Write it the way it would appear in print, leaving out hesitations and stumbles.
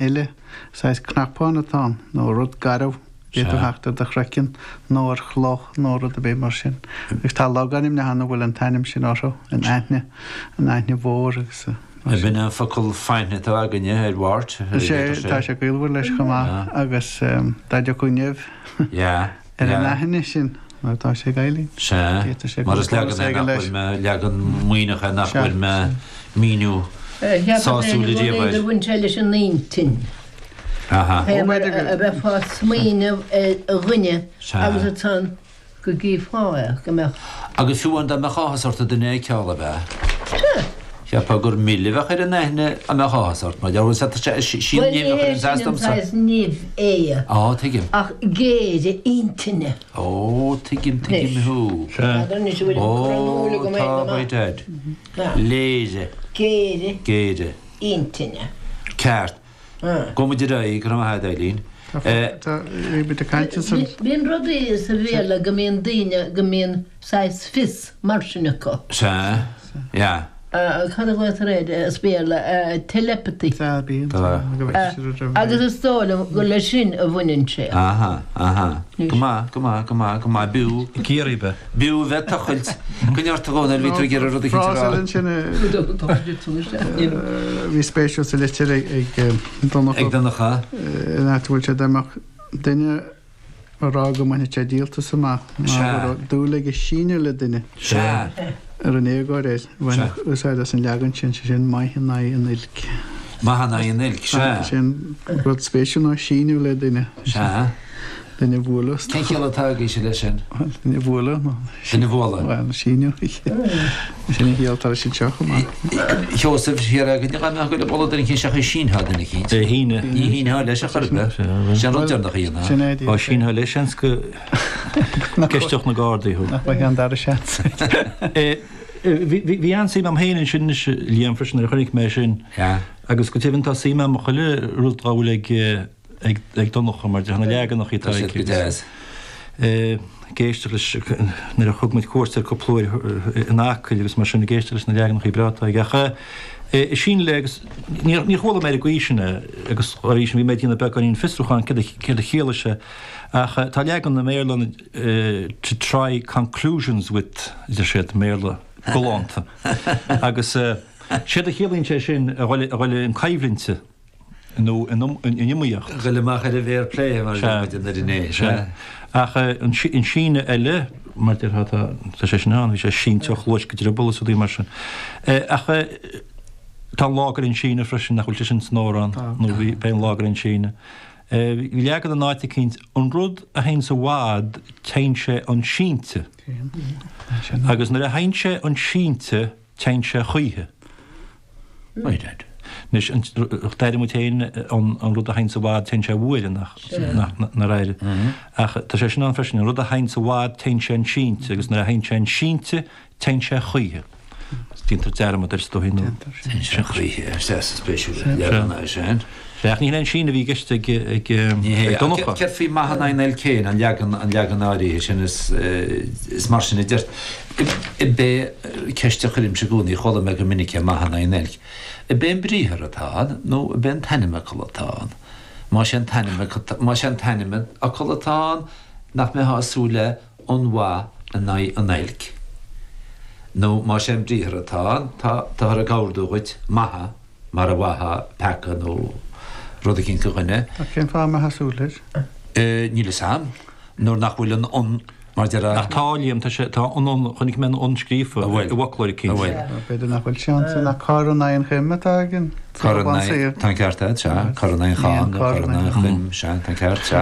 Eile, saghas cnapán atá ann, nó rud garbh, d'fhéadfadh theacht ar do chraiceann, nó ar chloch, nó rud ar bith mar sin. Agus tá logainmneacha ann a bhfuil an t-ainm sin orthu, an Aithne, an Aithne Mhór agus mar sin. B'in an focal faithne atá againne ar mhairt. Sea, tá sé gaolmhar leis chomh maith, agus dá dtiocfadh nimh ar an aithne sin, mar atá sé ag Eileen. Sea, mar is leagan é nach bhfuair mé, leagan maoithneach é nach bhfuair mé míniú sásúil ariamh air. B'fhéidir gur bhain sé leis an intinn. Aha. Fé mar a bheifeá ag smaoineamh ar dhuine agus ansan go gcífeá é, go mbeadh. Agus fiú amháin dá mbeadh áthas ort duine a fheiceáil, ab ea? Sea. Cheapfá gur mil a bheadh ar an aithne dá mbeadh áthas ort, mar gheall ar tá sé sí an Bhuel, ní nimh a hé chuireann sin as an domsa. saghas nimh é. Á, tuigim. Ach géire intinne. Ó, tuigim, tuigim Anois. thú. N'fheadar anois an bhfuil Ó, an cur in iúl agam é tá, go by maith. dad. Na. Léire. Géire. Géire. Intinne. Ceart. Gabhfaidh muid ar aghaidh, go raibh maith agat, Eileen. Tá, bhí muid ag caint ansan. Bíonn rudaí sa Bhéarla go mbíonn daoine, go mbíonn saghas fios mar sin acu. Sea, yeah. Cad a ghlaotar air as Béarla? Telepathy. Sea, bíonn. Agus is dóigh liom gur leis sin a bhaineann sé. Aha, aha. Go maith, go maith, go maith, go maith. B'fhiú. Ag iarraidh bheith. B'fhiú bheith ag tochailt. Go neart a Dhónaill, bhí tú ag iarraidh rud eicínt a rá. Frása eile ansin a bhí spéisiúil sa litir ag Donncha. Ag Donncha. In áit a bhfuil sé dá mbeadh duine a rá go mbainfeadh sé díoltas amach ná go raibh dúil aige síneadh le duine. Sea. Ar an éagóir air. Bhainfeadh úsáid as an leagan sin, sé sin maith in aghaidh an oilc. Maith in aghaidh an oilc, sea. Sin rud spéisiúil ná síneadh le duine. Sea. Duine a bhualadh. Cén chiall atá agaibhse leis sin? Duine a bhualadh nó. Duine a bhualadh. Bhuel, síneadh. Sin an chiall atá leis anseo chomh maith. Sheosaimh, thiar againn, dá mbeadh go le bualadh duine eicínt seachas sínfeá duine eicínt. É shíneadh. Ní shínfeá leis ar chor ar bith. Sin an rud deireanach a dhéanfá. Sin é. Dá sínfeá leis, seans go gceisteodh na Gardaí thú. Nach mbeadh an dara seans. Bhí an-suim agam féin ansin anois, Liam, freisin, nuair a chonaic mé sin. Agus go deimhin tá suim agam i chuile rud dá bhfuil ag ag Donncha mar de na leaganacha atá Tá siad go deas. Ag éisteacht leis nuair a thug muid cuairt air cúpla uair in Acaill agus mar sin ag éisteacht leis na leaganacha breá atá aige. Ach síneadh le agus níor chuala mé ar an gcaoi sin é agus dá bhrí sin bhí mé ag déanamh beagáinín fiosrúcháin céard a chiallaigh sé. Ach tá leagan i mBéarla ann to try conclusions with a deir siad i mBéarla galánta. Agus séard a chiallaíonn sé sin a dhul i gcoimhlint. nó in iomaíocht. Dhul amach ar an bhféar plé mar a deir muid in Doire Né. Sea. Ach an síneadh eile, mar déarfá, tá sé sin ann, bhí sé sínte ó chluais go drioball is rudaí mar sin. Ach tá an lá go an síneadh freisin, nach bhfuil sé sin san amhrán, nó bhí, beidh an lá go an síneadh. Bhí leagan in áit eicínt, an rud a théanns i bhfad, téann sé 'un sínte. Agus nuair a théann sé 'un sínte, téann sé choíche. Anois, d'airigh muid féin an rud a théanns i bhfad, téann sé uaire, nár airigh? Ach tá sé sin ann freisin, an rud a théanns i bhfad, téann sé 'un sínte, agus nuair a théann sé 'un sínte, téann sé choíche. Déantar dearmad air is dóigh nó. Téann sé choíche, sea, spéisiúil leagan é sin. Ach ní hin an síneadh a bhí i gceist ag Donncha. Céard faoi maith in aghaidh an oilc féin, an leagan, an leagan áirithe sin, is mar sin a deir. Ab é ceist a chuirimse i gcónaí, chuala mé go minic é, maith in aghaidh an oilc. Ab é an briathar atá ann nó ab é an t-ainmfhocal atá ann? Más é an t-ainmfhocal, más é an t-ainmfhocal atá ann, nach mbeifeá ag súil le an mhaith in aghaidh an oilc? Nó más é an briathar atá ann, tá, táthar ag ordú dhuit maith mar a mhaithfeá peaca nó rud eicínt do dhuine. Ach cén fáth a mbeifeá ag súil leis? Níl fhios a'm. Nuair nach bhfuil an an mar deir. Ach tá, Liam, tá sé, tá an an, chonaic mé an an scríofa i bhfoclóir eicínt. An bhfuil? B'fhéidir nach bhfuil sé ansin ach cor in aghaidh an choim atá againn. Cor in aghaidh, tá an ceart agat, sea. Cor in aghaidh an cham nó cor in aghaidh an choim, sea, tá an ceart, sea.